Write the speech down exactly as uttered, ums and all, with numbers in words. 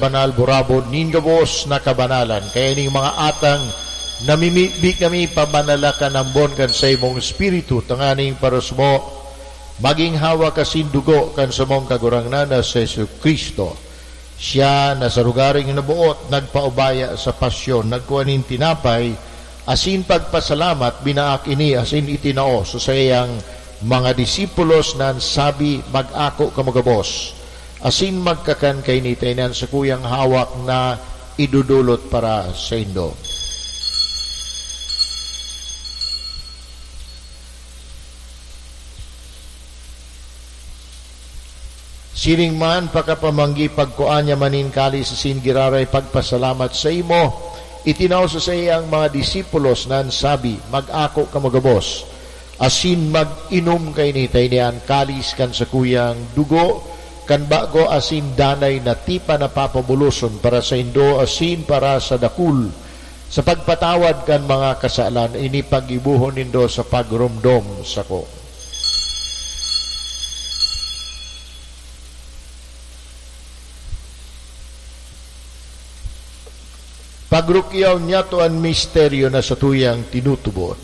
Banal burabod nin gabos na kabanalan. Kaya ning mga atang namimibi kami, pabanala kan ambon kan saimong Espiritu, tanganing parusmo maging hawak asin dugo kan samong Kagurangnan na si Jesu-Cristo. Siya na sa lugaring naboot, nagpaubaya sa pasyon, nagkua nin tinapay, asin pagpasalamat, binaak ini asin itinao sa saiyang mga disipulos na sabi, "Mag-ako kamo gabos, asin magkakan kaini ta ini an sakuyang hawak na idodolot para saindo." Siring man, pakapamanggi, pagkua niya man nin kalis asin giraray pagpasalamat saimo, itinao sa saiyang mga disipulos na sabi, "Mag-ako kamo gabos, asin mag-inom kaini ta ini an kalis kan sakuyang dugo kan bago asin danay na tipan na papabuloson para saindo asin para sa dakul sa pagpatawad kan mga kasalan. Ini paggibohon nindo sa pagromdom sako." Pagrukyaw niyato an misteryo na satuyang tinutubod.